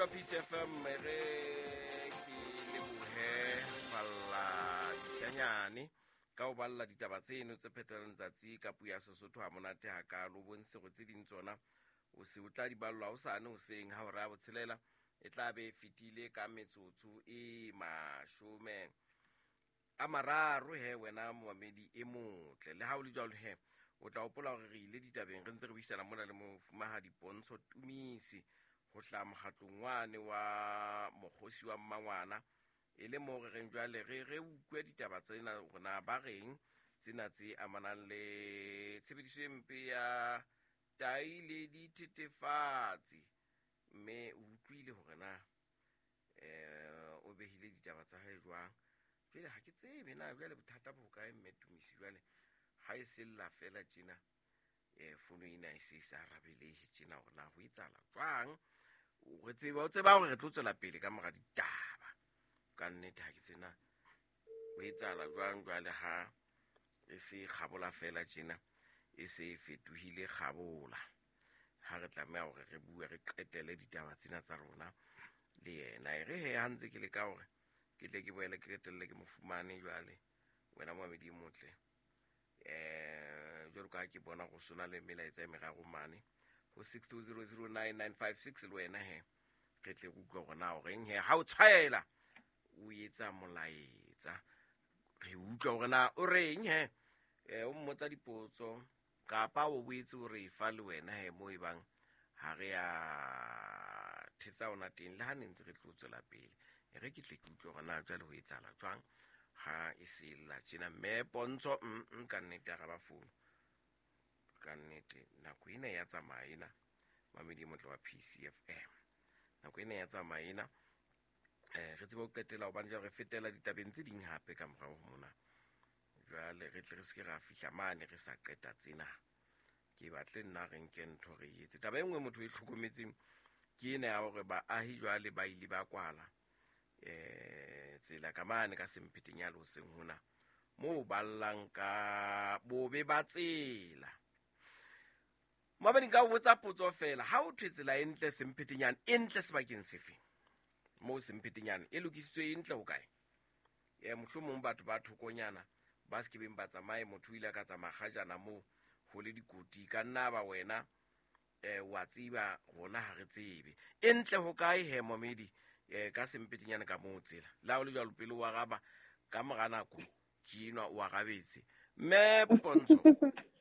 PCFM, re ke lebohe falla disanyane ka ho balla ditaba tseno tse phetelang letsatsi ka puo ya Sesotho ha monate hakaalo. O bontshe hore tse ding tsona o se o tla di ballwa hosane hoseng ha hora ya botshelela e tla be e fetile ka metsotso e 30. He wena momamedi e motle, le ha o le jwalo he o tla hopola hore re ile ditabeng re ntse re buisana mona le mofumahadi Pontsho Tumisi ho hlaha mokgatlong wane wa mokgosi wa mmangwana, e le moo re reng jwale re utlwe ditaba tsena hore na ba reng, tsena tse amanang le tshebediso e mpe ya tai le dithethefatsi. Mme o utlwile hore na o behile ditaba tsa hae jwang. Jwale ha ke tsebe na jwale bothata bo hokae, mme Tumisi. Jwale ha e sella fela tjena, fono ena e se e sa arabelehe tjena, hore na ho etsahala jwang. Re tseba, o tseba hore re tlo tswela pele ka mora ditaba. Ka nnete ha ke tsena ho etsahala jwang jwale ha e se kgabola fela tjena, e se e fetohile kgabola, ha re tlameha hore re bue re qetele ditaba tsena tsa rona le yena. E re he ha ntse ke leka hore ke tle ke boele ke qetelle ke mo fumane jwale, wena moamedi e motle, jwalo ka ha ke bona go sona le melaetsa e meraro mane ho 62009956, le wena he re tle re utlwe hore na o reng he ha o tshwaela o etsa molaetsa, re utlwe hore na o reng he, o mmotsa dipotso kapa o boetse o re fa le wena he mo e bang ha re ya thetsa ona teng le ha ne ntse re tlo tswela pele. E re ke tle ke utlwe hore na jwale ho etsahala jwang ha e se lla tjena. Mme Pontsho, ka nnete araba founu, ka nnete nako ena ya tsamaya ena, mamedi e motle wa PCFM, nako ena ya tsamaya ena, re tsebe ho qetela hobane jwale re fetela ditabeng tse ding hape ka morao ho mona. Jwale re tle re se ke ra fihla mane re sa qeta tsena, ke batle nna re nke ntho re etse. Taba e nngwe motho e hlokometseng ke ena ya hore baahi jwale ba ile ba kwala tsela ka mane ka Sempheteng ya hoseng hona moo ba llang ka bobe ba tsela. Mabedi nka o botsa potso fela, ha o thwe tsela e ntle Semphetenyane, e ntle sebakeng sefe? Moo Semphetenyane e lokisitswe e ntle ho kae? Mohlomong batho ba thokonyana ba se kebeng ba tsamaye, motho o ile a ka tsamaya kgajana moo ho le dikoti, ka nna ba wena wa tseba, rona ha re tsebe e ntle ho kae he momedi, ka Semphetenyane ka moo tsela. Le ha o le jwalo pele o araba, ka mora nako ke enwa o arabetse. Mme Pontsho,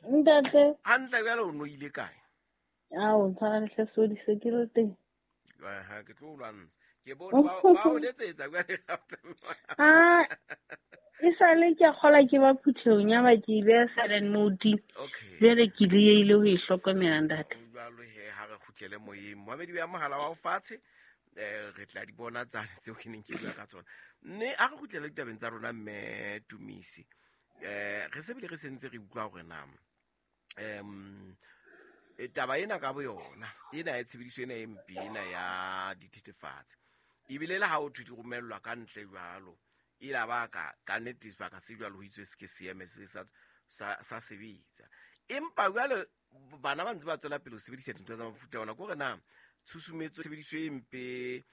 Ntate. Hantle jwale o no ile kae? Ao, tshwara lehlasodi se ke le teng. Aha, ke tlo o lwantsha. Ke bone ba o letsetsa jwale. Ah, e sale ke a kgola ke ba phuthehong ya ba ke e beha silent mode. Jwale ke diehile ho e hlokomela, ntate. Jwalo he ha re kgutlele moyeng. Moamedi ya mohala wa o fatshe, re tla di bona tsane tseo ke neng ke bua ka tsona. Mme a re kgutlele ditabeng tsa rona, mme Tumisi. Re se bile re sentse re utlwa hore na taba ena ka boyona ena ya tshebediso ena e mpe ena ya dithethefatsi, ebile le ha o thwe di romellwa ka ntle jwalo, e la ba ka nnete sebaka se jwalo ho itswe se ke seeme se sa sebetsa. Empa jwale bana ba ntse ba tswela pele ho sebedisa dintho tsa mofuta ona, ke hore na tshusumetso tshebediso e mpe